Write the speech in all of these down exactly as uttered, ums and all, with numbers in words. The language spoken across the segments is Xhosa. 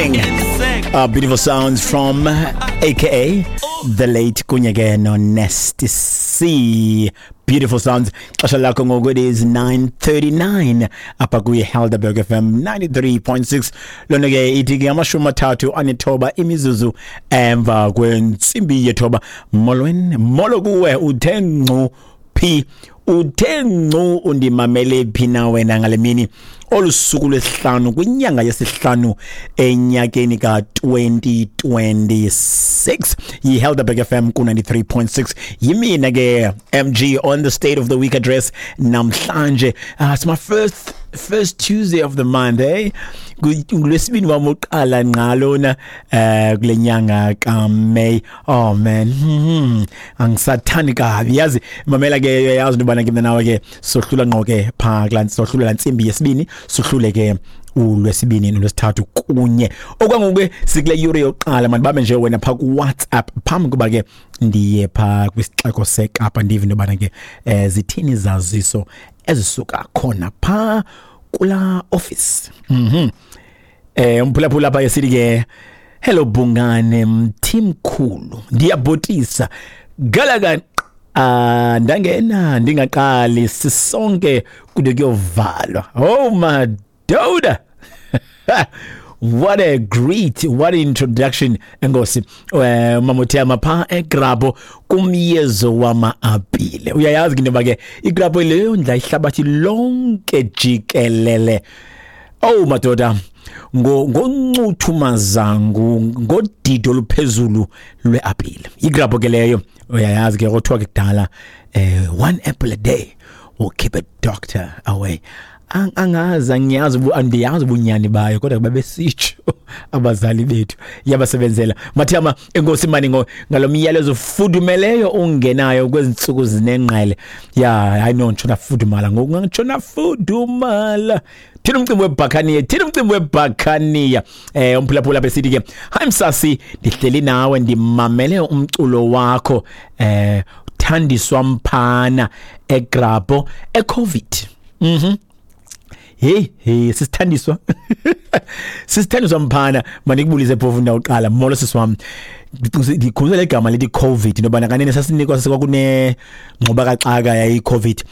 Morning. Uh, beautiful sounds from A K A the late kunye ke no Nasty C. Beautiful sounds. Xesha lakho ngoku it is nine thirty-nine apha kwi Helderberg F M ninety-three point six. Lona ke ithi ke amashumi amathathu anethoba imizuzu emva kwentsimbi yethoba. Molweni, molo kuwe uthe ngcu phi, uthe ngcu undimamele phi na wena ngale mini olusuku lwesihlanu kwinyanga yesihlanu enyakeni ka twenty twenty-six. Yi-Helderberg F M ku ninety-three point six. Yimina ke M G on the State of the Week address namhlanje. Uh, it's my first first Tuesday of the month, eh? Ngolwesibini wami oqala ngqalona eh kule nyanga kaMay. Oh man, mm-hmm. Angisathandi kabi. Yazi mamela ke, yazi into bana ke mina nawe ke sohlula ngqo ke pha kula sohlula lantsimbi yesibini, sohlule ke ulwesibini nolwesithathu kunye. Okwangoku sikule yure yokuqala mandibambe nje wena pha ku WhatsApp phambi kuba ke ndiye pha kwisixeko seKapa ndive into bana ke eh, zithini izaziso ezisuka khona pha kula office. Mhm. Eh umphulaphula apha esithi ke hello Bungane Mthimkhulu, ndiyabhotisa galaga ah ndangena ndingaqali sisonke kude kuyovalwa. Oh madoda. What a great, what an introduction. Enkosi eh Mamothema pha eGrabo kumyezo wama-apile. Uyayazi ke into ke iGrabo leyo ndla ihlabathi lonke jikelele. Oh madoda, ngo ngoncuthu mazangu ngodido oluphezulu lweapile. iGrabo ke leyo uyayazi ke kuthiwa ke kudala eh one apple a day will keep a doctor away. Angazi angiyazi andiyazi ubunyani bayo kodwa babesitsho abazali bethu yabasebenzela. Mathama enkosi mani ngo ngalomyalezo fudumeleyo ungenayo kwezintsuku zinengqele. Yeah, I know ntshona fudumala ngoku ngitshona fudumala. Thina umcimbi weBhakaniya, thina umcimbi weBhakaniya. Eh umphulaphula besithi ke hi Msasi, ndihleli nawe ndimamele umculo wakho eh Thandiswa Mphana eGrabo eCovid. Mhm. Hey, hey, sisithandiswa. Sisithandiswa Mphana, mandikubulise phofu ndawuqala. Molo sisi wami. Ndikhulule igama lithi COVID ngoba kanene sasinikwa kwakune ngxuba kaxaka yayi COVID.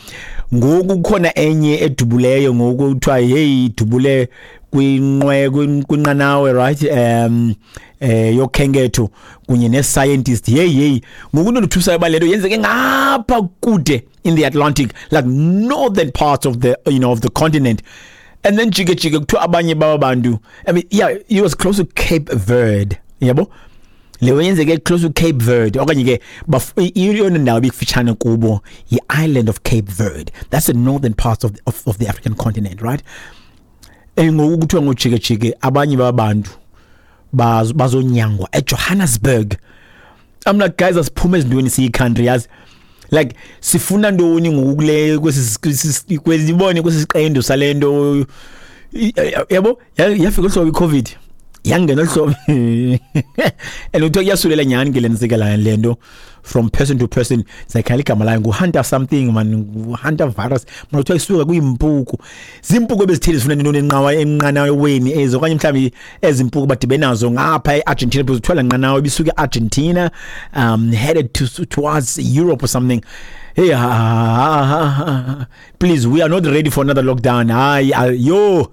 Ngoku kukhona enye edubuleyo ngoku kuthiwa hey idubule kwinqwe kwinqanawe, right? Um eh yokhenketho kunye ne scientist. Hey hey, ngoku ndothusa ba lento yenzeke ngapha kude in the Atlantic, like northern parts of the, you know, of the continent. And then jike jike kuthiwa abanye baba bantu, I mean, yeah, it was close to Cape Verde. Yabo? Leyo yenzeke close to Cape Verde okanye ke iyona ndawo ebikufitshane kubo yi-island of Cape Verde. That's the northern part of the, of, of the African continent, right? Ngoku kuthiwa ngojike jike abanye babantu bazonyangwa eJohannesburg. I'm like, guys, asiphume ezintweni siyi country yazi. Like sifuna ntoni ngoku kule kwesi kwezibone kwesiqendu salento yabo yafika uhlobo iCovid yangena uhlobo and uthe kuyasulela nyani ke lensika la lento from person to person. Sayikhala igama layo ngu-hunter something man, ngu-hunter virus man, kuthiwa isuka kuyimpuku zimpuku ebezithile zifuna intoni enqawa enqanaweni ezo okanye mhlawumbi ezimpuku badibe nazo ngapha e-Argentina because kuthiwa la nqanawa ibisuka e-Argentina um headed to towards Europe or something. Hey, ha, ha, ha, ha. Please, we are not ready for another lockdown. Hayi, yo.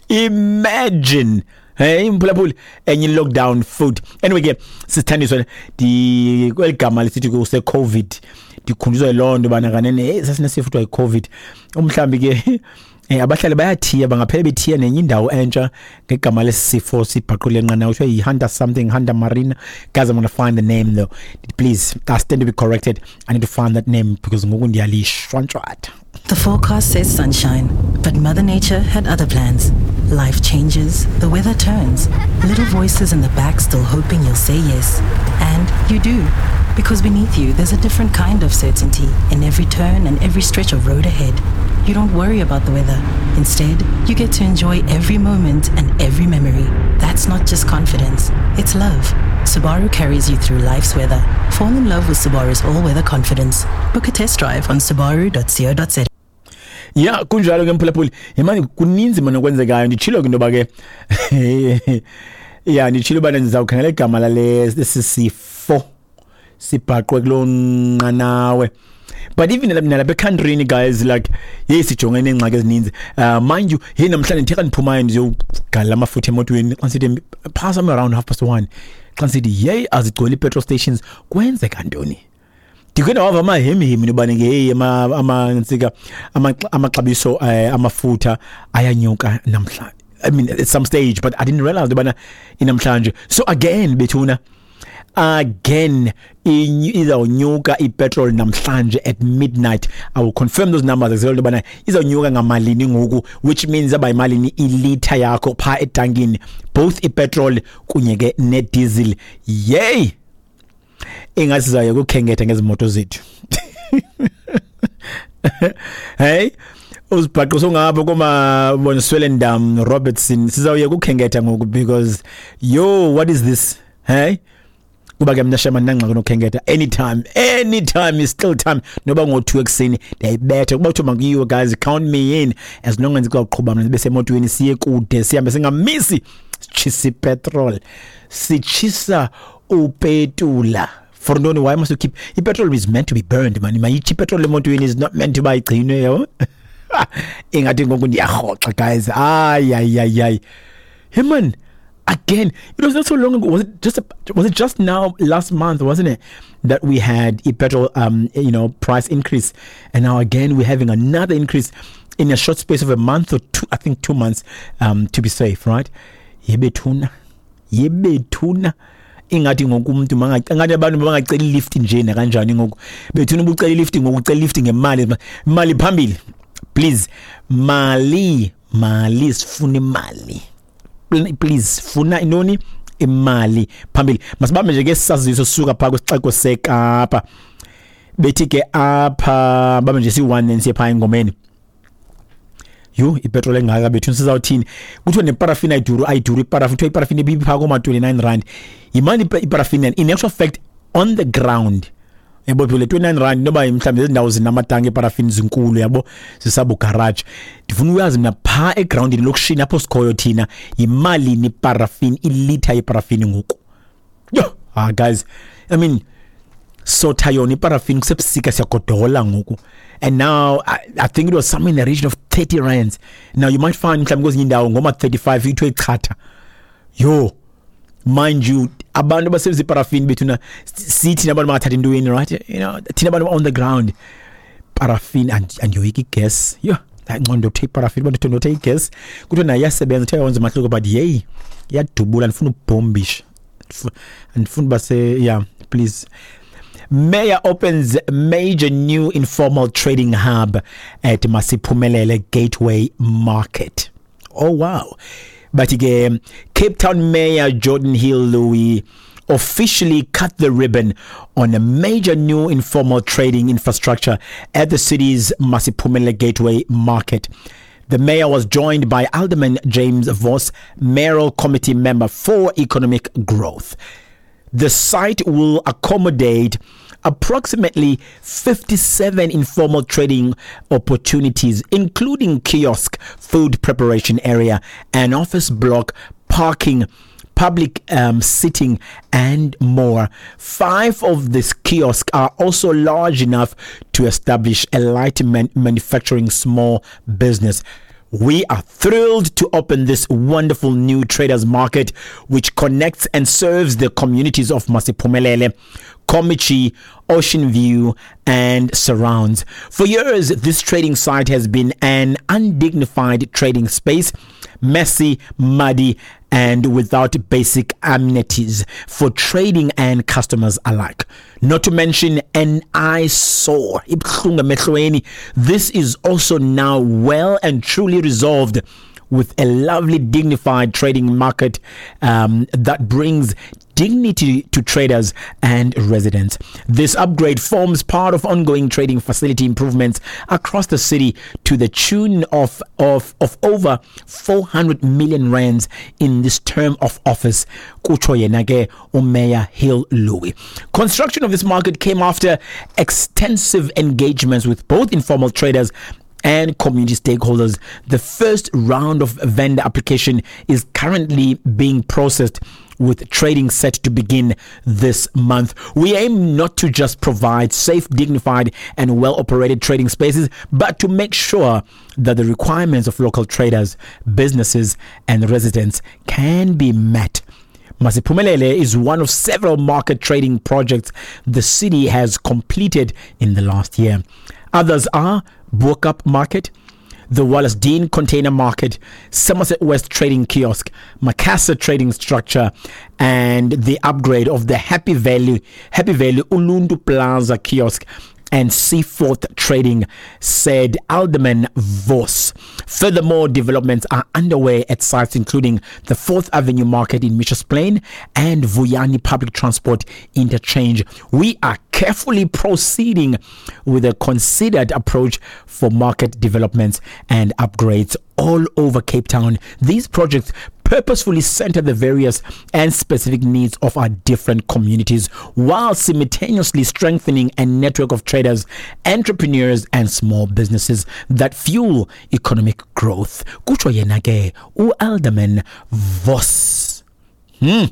Imagine. Hey, mphulaphuli enye lockdown food. Anyway ke sisithandiswa di kweligama lisithi kuse COVID ndikhunjuzwa loo nto bana kanene hey sasinesifo kuthiwa iCovid. Umhlambi ke eh abahlali bayathiya bangaphela bethiya nenye indawo entsha ngegama lesifo sibhaqule enqanawe kuthiwa yi-Hunter something, Hunter Marina. Guys, I'm going to find the name though. Please, I stand to be corrected. I need to find that name because ngoku ndiyalishwantshwatha. The forecast says sunshine, but Mother Nature had other plans. Life changes, the weather turns, little voices in the back still hoping you'll say yes. And you do, because beneath you there's a different kind of certainty in every turn and every stretch of road ahead. You don't worry about the weather. Instead, you get to enjoy every moment and every memory. That's not just confidence, it's love. Subaru carries you through life's weather. Fall in love with Subaru's all-weather confidence. Book a test drive on subaru dot co dot za. Yeah, kunjalo ke mphulaphuli. Yemani kuninzi manje okwenzekayo. Nditshilo ke into yoba ke yeah, nditshilo uba ndizawukhangela igama lale sisifo sibhaqwe kuloo nqanawe. But even nalapha ekhantrini guys, like hey, sijongene neengxaki ezininzi. Uh, mind you, hey, namhlanje ndithe xa ndiphumayo ndiyogalela amafutha emotweni, xa ndisithi phaa somewhere around half past one, xa ndisithi yeyi azigcwele ii-petrol stations, kwenzeka ntoni? Ndikhe ndawava amahemihemi intobana ke heyi amantsika amaxabiso eh, amafutha ayanyuka namhlanje. I mean, at some stage, but I didn't realize intobana inamhlanje. So again bethuna, again izawunyuka ipetrol namhlanje at midnight. I will confirm those numbers as well intobana izawunyuka ngamalini ngoku, which means aba yimalini ilitha yakho phaa etankini, both ipetrol kunye ke nediesel. Yey, ingathi sizawuya kukhenketha ngezi moto zethu. Hey, uzibhaqe songapha koma Swellendam, Robertson, sizawuya kukhenketha ngoku because yo, what is this? Hey, kuba ke mna shema ndinangxaki nokhenketha anytime, anytime is still time. Noba ngo-two ekuseni ndiyayibetha kuba kuthiwa makuyiwe, guys, count me in. As long as ndizawuqhuba mna ndibe semotweni, siye kude, sihambe singamisi, sitshisa ipetrol, sitshisa upetula for ntoni? Why must you keep ipetrol? Is meant to be burned, man. Mayitshe ipetrol emotweni, is not meant to uba igcinwe, yabo. Ingathi ngoku ndiyarhoxa guys. Hayi hayi hayi hayi, hey man, again, it was not so long ago. Was it just a, was it just now last month, wasn't it, that we had a petrol um you know price increase, and now again we're having another increase in a short space of a month or two, I think two months, um to be safe, right? Yebethuna, yebethuna, ingathi ngoku umuntu mangathi abantu bangacela ilift nje nakanjani ngoku bethuna. Ubucela ilift ngoku, ucela ilift ngemali, imali phambili, please. Mali, mali, sifuna imali, please. Funa intoni? Imali phambili. Masibambe nje ke saziso sisuka phaa kwisixeko seKapa. Bethi ke apha bambe nje si-one then siye phaa engomeni. Yho, ipetroli engaka bethu, sizawuthini? Kuthiwa neparafini ayiduru, ayiduru iparafini. Kuthiwa iparafini ibiphaa kooma-twenty-nine rand. Yimali iparafini in actual fact on the ground, yabo. Le twenty-nine rand noba mhlawumbi ezi ndawo zinamatanki eparafini zinkulu, yabo, zisabugaraji. Ndifuna uyazi mna phaa egrawundini elokishini apho sikhoyo thina, yimalini iparafini, ilitha yeparafini ngoku? Yho, ah guys, I mean, sotha yona iparafini kusebusika, siyagodola ngoku, and now I, I think it was somewhere in the region of thirty rands. Now you might find mhlawumbi kwezinye indawo ngoma thirty-five ithiwe ichatha. Yho, mind you, abantu abasebenzisa iparafini bethuna sithi nabantu bangathatha intweni, right? You know, thina abantu on the ground, parafini andiyoyika igas. Yho, ngcono ndothe iparafini, abantu ndothe igas. Kuthiwa nayo iyasebenza, kuthiwa yenza umahluko, but yeyi, iyadubula, ndifuna ubhombisha, andifuni uba se, yeah, please. Mayor opens major new informal trading hub at Masiphumelele Gateway Market. Oh wow. But again, Cape Town Mayor Geordin Hill-Lewis officially cut the ribbon on a major new informal trading infrastructure at the city's Masiphumelele Gateway Market. The mayor was joined by Alderman James Vos, mayoral committee member for economic growth. The site will accommodate approximately fifty-seven informal trading opportunities, including kiosk, food preparation area, an office block, parking, public um, sitting, and more. Five of these kiosks are also large enough to establish a light man- manufacturing small business. We are thrilled to open this wonderful new traders market, which connects and serves the communities of Masiphumelele, Kommetjie, Ocean View, and surrounds. For years, this trading site has been an undignified trading space, messy, muddy, and without basic amenities for trading and customers alike. Not to mention an eyesore. This is also now well and truly resolved with a lovely, dignified trading market um, that brings dignity to traders and residents. This upgrade forms part of ongoing trading facility improvements across the city to the tune of, of, of over four hundred million rands in this term of office. Kutsho yena ke uMayor Hill-Lewis. Construction of this market came after extensive engagements with both informal traders and community stakeholders. The first round of vendor application is currently being processed, with trading set to begin this month. We aim not to just provide safe, dignified, and well-operated trading spaces, but to make sure that the requirements of local traders, businesses, and residents can be met. Masiphumelele is one of several market trading projects the city has completed in the last year. Others are Bo-Kaap Market, the Wallacedene Container Market, Somerset West Trading Kiosk, Macassar Trading Structure, and the upgrade of the Happy Valley, Happy Valley Uluntu Plaza Kiosk and Seaforth Trading, said Alderman Vos. Furthermore, developments are underway at sites including the fourth Avenue Market in Mitchells Plain and Vuyani Public Transport Interchange. We are carefully proceeding with a considered approach for market developments and upgrades all over Cape Town. These projects purposefully center the various and specific needs of our different communities while simultaneously strengthening a network of traders, entrepreneurs, and small businesses that fuel economic growth. Kutsho yena ke uAlderman Vos. Hmm.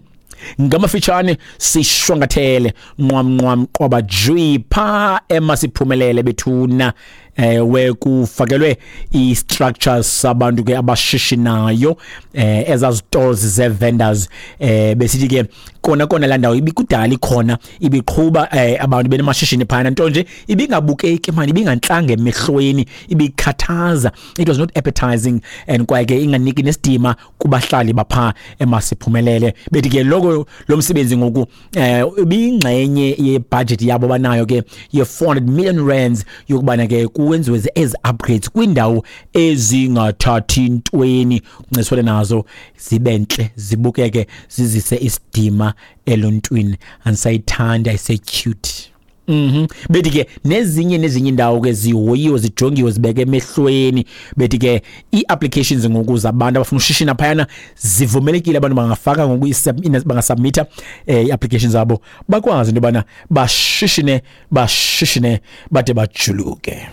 Ngamafitshane sishwangathele nqwam nqwam qwaba jwi pha eMasiphumelele bethuna, eh kufakelwe i-structures sabantu ke abashishinayo, eh ezazitores ze-vendors, eh besithi ke kona kona la ndawo ibikudala ikhona, ibiqhuba eh, abantu benamashishini phana, nto nje ibingabukeki mani, ibingantlanga emehlweni, ibikhathaza, it was not appetizing, and kwaye ke inganiki nesidima kubahlali bapha eMasiphumelele. Bethi ke loko lo msebenzi ngoku eh ibingxenye ye-budget yabo banayo ke ye four hundred million rands yokubana ke kuwenziwe ezi upgrades kwindawo ezingathathi ntweni, kunciswane nazo, zibe ntle, zibukeke, zizise isidima eluntwini. Andisayithanda, ise-cute. Mhm. Bethi ke nezinye nezinye indawo ke zihoyiwe, zijongiwe, zibeke emehlweni. Bethi ke ii-applications ngoku zabantu abafuna ushishina phayana zivumelekile, abantu bangafaka ngoku, bangasubmitha eh ii-applications zabo, bakwazi into yobana bashishine bashishine bade bajuluke.